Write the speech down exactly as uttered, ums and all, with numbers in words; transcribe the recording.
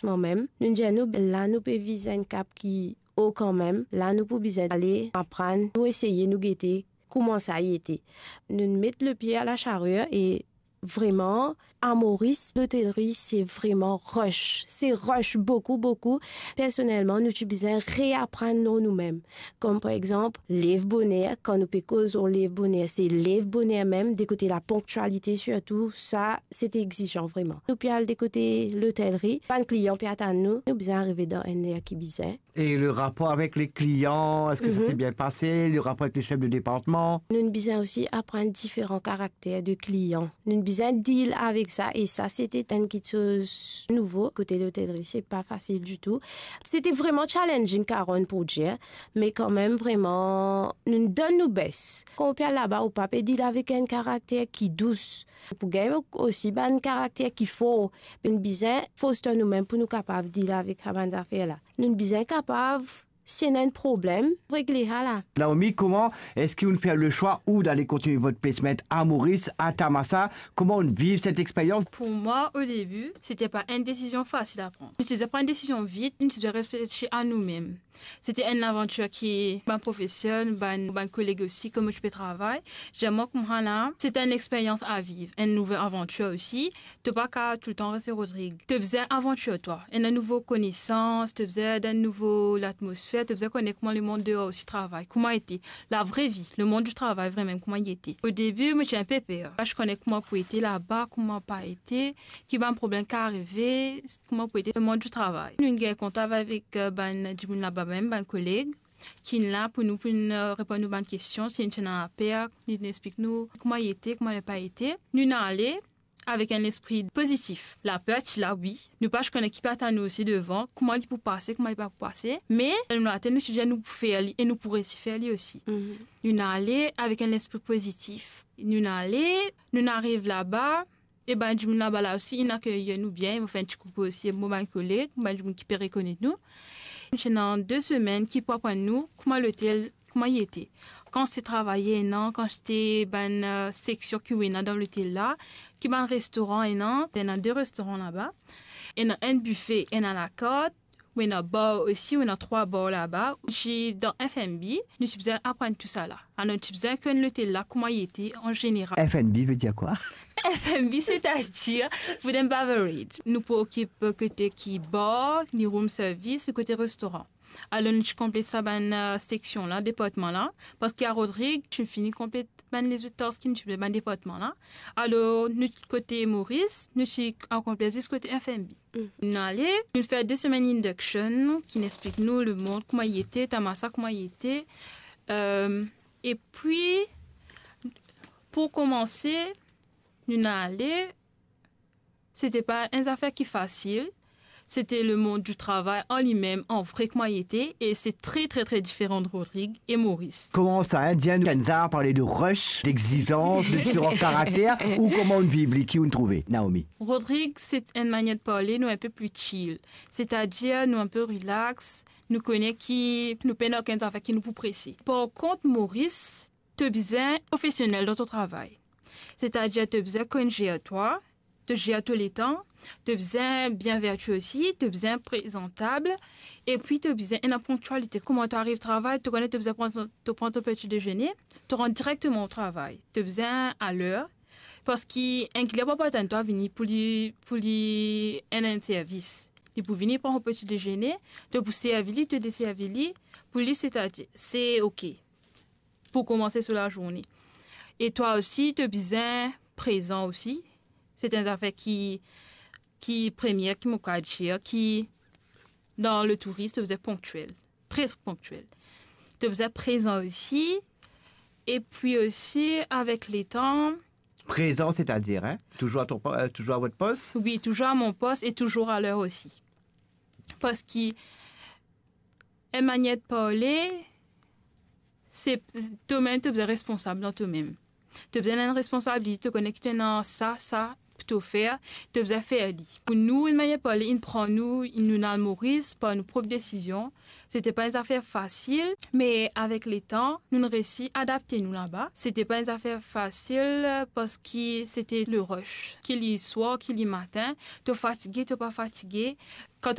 Mwa mem, nou dir nou, la nou pe viz enn kap ki o kanmem, la nou pou bizin ale aprann, nou eseye, nou gete kouma sa ete. Nou met lepie a la sharie e vreman, a Moris, lotelri, se vreman rush. Se rush boukou, boukou. Personelman, nou ti bizin reaprann lor noumem. Kom par exanp, lev boner, kan nou pe koz lor lev boner, se lev boner mem, de kote la ponktialite sirtou, sa, se ti exizan vreman. Nou pe al de kote lotelri, bann klian pe atann nou, nou bizin arive dan enn ler ki bizin. Et le rapport avec les clients, est-ce que ça Mhm. s'est bien passé ? Le rapport avec les chefs de département ? Nou bizin osi aprann diferan karakter de klian. Nou bizin deal avek sa, e sa, se ti enn kiksoz nouvo kote lotelri, se pa fasil ditou. Se ti vreman challenging, Karen, pou dir, me kanmem, vreman, nou donn nou bes. Kan ou pe al laba, ou pa pe deal avek enn karakter ki dous. Pou gagn osi bann karakter ki for, nou bizin foster noumem pou nou kapav deal avek sa bann zafer la. Nou bizin kapav, si ena enn problem, regle sa la. Naomi, comment est-ce que vous faites le choix ou d'aller continuer votre placement à Maurice, à Tamasa ? Comment on vit cette expérience ? Pour moi, au début, c'était pas une décision facile à prendre. C'était pas une décision vite, c'était réfléchir à nous-mêmes. C'était une aventure qui, mon professeur, mon, mon collègue aussi, comme je peux travailler, j'aime beaucoup, c'était une expérience à vivre, une nouvelle aventure aussi. To pa ka toultan res Rodrig. To bizin avantir twa, ena nouvo konesans, to bizin dan enn nouvo latmosfer, to bizin kone kouma lemond deor osi travay, kouma ete, la vraie vie, le monde du travail vremem, kouma li ete. Au début, mo ti inpe per. Pa ti kone kouma pou ete laba, kouma pa ete, ki bann problem ki arive, kouma pou ete le monde du travail. Nou gagn kontak avek, euh, bann dimoun laba mem, bann koleg, ki la pou nou, pou nou, euh, reponn nou bann kestion, si nou ti ena laper, li explik nou kouma li ete, kouma li pa ete. Nou ale, avek enn lespri pozitif. Laper ti la, wi. Nou pa ti kone ki pe atann nou osi devan, kouma li pou pase, kouma li pa pou pase. Me, dan nou latet, nou ti dir nou pou fer li e nou pou resi fer li osi. Mhm. Nou ale avek enn lespri pozitif. Nou ale, nou ariv laba, e bann dimoun laba la osi, inn akeyi nou bien. Mo fer enn ti koukou osi mo bann koleg, mo bann dimoun ki pe rekonet nou. Nou ti ena de semenn ki pou aprann nou kouma lotel kouma li ete. Kantite travayer ena, kantite bann, euh, seksion ki ou ena dan lotel la, ki bann restoran ena, ena de restoran laba, ena enn bife, ena lakart, ou ena bar osi, ou ena trwa bar laba, ou ti dan F and B, nou ti bizin aprann tousala. Alor, nou ti bizin konn lotel la, kouma li ete an zeneral. F and B veut dire quoi ? F and B, c'est-à-dire food and beverage. Nou pou okip kote ki bar, ni room service, kote restoran. Alor, nou ti konplet sa bann, euh, seksion la, departman la, parski a Rodrig, ti fini konplet bann lezot task ki nou ti pe bann departman la. Alor, nou kote Moris, nou ti akonpli zis kote F and B. Mm. Nou ale, nou fer de semenn induction, ki explik nou lemond, kouma li ete, Tamasa, kouma li ete. Euh, epi, pou komanse, nou ale, se ti pa enn zafer ki fasil, se ti lemond di travay an limem, an vre, kouma li ete, e se tre, tre, tre diferan de Rodrig e Moris. Kouma sa, hein, Diane Kenza a parle de rush, d'exigence, de différents caractères, ou kouma ou viv li, ki ou trouve, Naomi ? Rodrig, se enn manier de parle, nou enpe pli chill. C'est-à-dire, nou enpe relax, nou kone ki nou pena okenn zafer ki nou pou prese. Par kont, Moris, to bizin profesionel dan to travay. C'est-à-dire, to bizin konn zer twa, to zer to letan, to bizin bien verti osi, to bizin prezantab, epi to bizin ena ponktialite. Kouma to ariv travay, to kone to bizin pran to, to pran to peti dezene, to rant direkteman o travay. To bizin a ler, parski enn klian pa pou atann twa vini pou li, pou li ena enn servis. Li pou vini pran so peti dezene, to pou servi li, to deservi li, pou li, c'est-à-dire, se ok. Pou komanse so lazourne. E twa osi, to bizin prezan osi. Se enn zafer ki, ki premie, ki mo kav dir, ki dan letouris, to bizin ponktiel. Tre ponktiel. To bizin prezan osi. Epi osi, avek letan. Prezan, c'est-à-dire, hein ? Toujours à ton po-, euh, toujours à votre poste ? Wi, touzour a mon pos e touzour a ler osi. Parski, enn manier de parle, se tomem, to bizin responsab dan tomem. To bizin ena enn responsabilite, to kone ki to ena sa, sa, pou to fer, to bizin fer li. Pou nou, enn manier parle, inn pran nou, inn nou al Moris par nou prop desizion. Sete pa enn zafer fasil, me avek letan, nou'nn resi adapte nou laba. Sete pa enn zafer fasil, parski sete le rush. Ki li swar, ki li matin, to fatige, to pa fatige. Kan